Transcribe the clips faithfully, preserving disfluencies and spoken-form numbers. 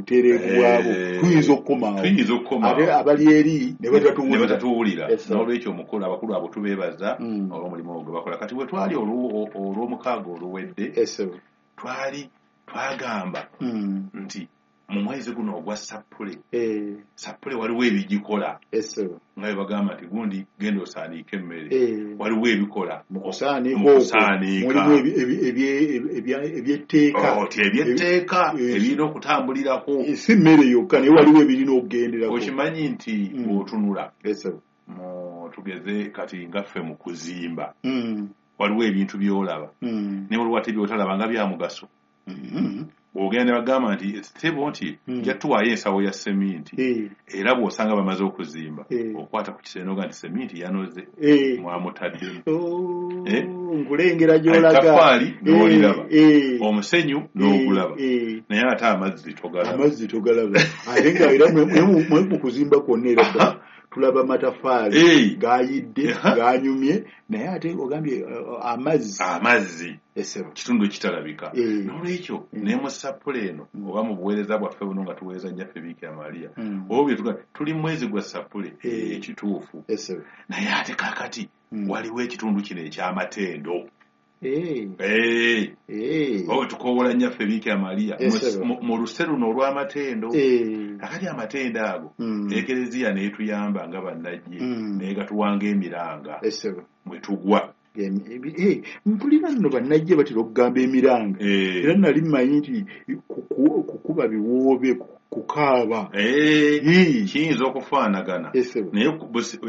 butereevu bwabo tuyinza okukomaawo, tuyinza okukomaawo ate abali eri ne batatuwulira. N'olwekyo omukulu, abakulu abo tubeebaza olw'omulimu gwe bakola. Kati bwe twali olw'omukaaga oluwedde, twali twagamba nti mu mwezi guno ogwa Sappule, Sappule waliwo ebigikola nga bwe bagamba nti gundi genda osaaniike emmere, waliwo ebikola mu kusaaniika mulimu ebyetteeka ebyetteeka ebirina okutambulirako, si mmere yokka naye waliwo ebirina okugenderako. Okimanyi nti bw'otunula tugeze kati nga ffe mu kuzimba, waliwo ebintu by'olaba naye waliwo ate by'otalaba nga bya mugaso. Ogenda ne bagamba nti sebo nti nja tuwaayo ensawo ya seminti, era bw'osanga bamaze okuzimba okwata ku kisenge n'ogamba nti seminti yanoze mwamutaddemu, nkulengera gy'olaga, ettaffaali n'oliraba, omusenyu n'ogulaba, naye ate amazzi togalaba, amazzi togalaba. Ate nga era mwe mu kuzimba kwonna era tulaba mataffaali gayidde ganyumye, naye ate ogambye amazzi, amazzi kitundu kitalabika. N'olwekyo ne mu Sappule eno oba mu buweereza bwaffe buno nga tuweereza Nnyaffe Biikira Maria, oba bye tuli mu mwezi gwa Sappule ekituufu, naye ate kaakati waliwo ekitundu kino eky'amatendo. Oba tukoowola Nnyaffe Biikira Maria mu luse luno olw'amatendo. Kakati amatendo ago Ekereziya n'etuyamba nga bannajje naye gatuwanga emiranga mwe tugwa. Mpulira nno bannajje batera okugamba emiranga, era nali mmanyi nti kukuba biwoobe, kukaaba kiyinza okufaanagana, naye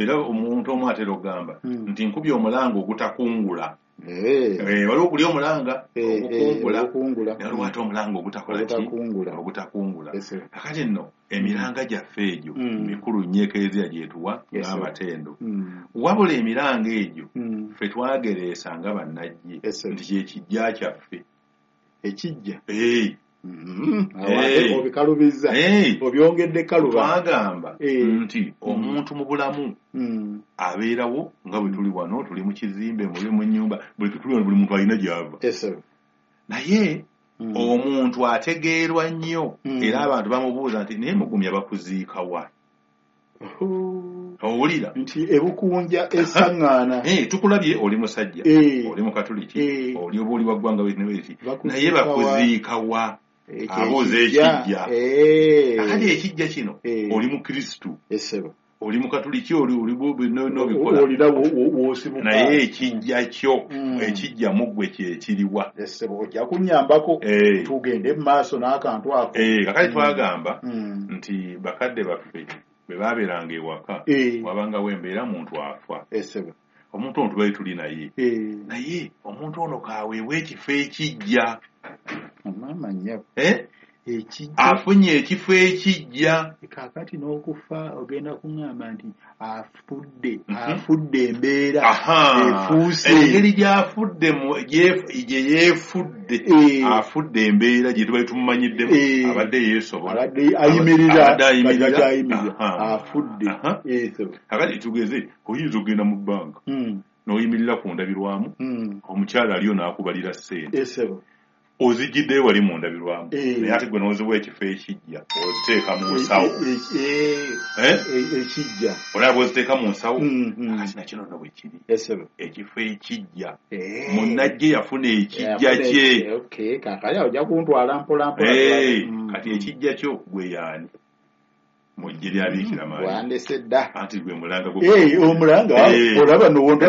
era omuntu omu atera okugamba nti nkubye omulanga ogutakungula. Waliwo oguli omulanga ogukungula, naye waliwo ate omulanga ogutakola ki, ogutakungula. Kakati nno emiranga gyaffe egyo mikulu nnyo Ekereziya gyetuwa ng'amatendo, wabula emiranga egyo ffe twagereesa nga bannajje nti kye kijja kyaffe ekijja. Obikalubiza, obyongedde kaluba. Twagamba nti omuntu mu bulamu abeerawo nga bwe tuli wano, tuli mu kizimbe, muli mu nnyumba, buli tuli wano, buli muntu alina gy'ava, naye omuntu ategeerwa nnyo era abantu bamubuuza nti naye mugumya bakuziika wa? Owulira nti ebukunja esaŋŋaana, tukulabye oli musajja, oli mukatuliki, oli oba oli wa ggwanga bweti, naye bakuziika wa? Abuuza ekijja. Akati ekijja kino oli mukristu, oli mukatuliki, oli nobikola, naye ekijja kyo ekijja mu ggwe kye kiriwa? Ojja kunnyambako tugende mu maaso n'akantu ako. Kakati twagamba nti bakadde baffe bwe baabeeranga ewaka wabangawo embeera muntu afa, omuntu ono tubaye tuli naye, naye omuntu ono kaweebwa ekifo ekijja. Afunye ekifo ekijja. Kaakati n'okufa ogenda kuŋŋamba nti afudde, afudde embeera efuuse, engeri gy'afudde gye yeefudde, afudde embeera gye tubali tumumanyiddemu, abadde yeesobola, abadde ayimirira, abadde ayimirira, afudde. Kakati tugeze oyinza okugenda mu bbanka n'oyimirira ku ndabirwamu, omukyala aliyo n'akubalira ssente, ozijjiddeyo wali mu ndabirwamu, naye ate gwe n'oziwa ekifo ekijja oziteeka mu nsawo ekijja, olaba bw'oziteeka mu nsawo. Kakati nakino nno bwe kiri, ekifo ekijja munnajje yafuna ekijja kye. Kaakati ojja kuntwala mpola mpola. Kati ekijja kyo gwe yaani? Mu ggye lya Biikira Maria wandese dda, anti gwe mulanga omulanga olaba nowonda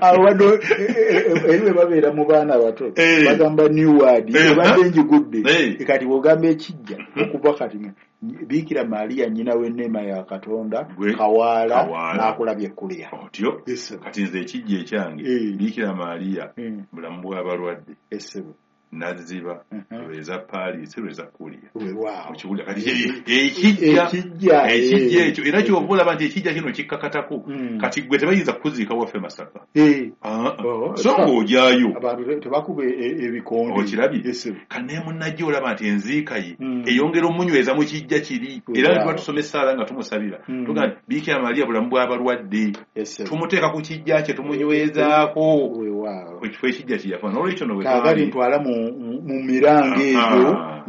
awo eri bwe babeera mu baana bato bagamba new word ebadde njigudde. Kati bw'ogamba ekijja okuva kati Biikira Maria nnyina w'enneema ya Katonda kawaala n'akulabye ekkuliya otyo. Kati nze ekijja ekyange Biikira Maria bulamu bw'abalwadde Naziba lweza Paris lweza Kulia okiwulira kati ekijja ekijja ekyo era kyova olaba nti ekijja kino kikkakatako kati gwe tebayinza kukuziika waffe Masaka so ng'ojaayo abantu tebakuba ebikonde okirabye kane munnajja olaba nti enziika ye eyongera omunyweza mu kijja kiri era tuba tusoma essaala nga tumusabira tugamba nti Biikira Maria bulamu bw'abalwadde tumuteeka ku kijja kye tumunywezaako ekifo ekijja kye yafa n'olwekyo no kaakati ntwala mu miranga egyo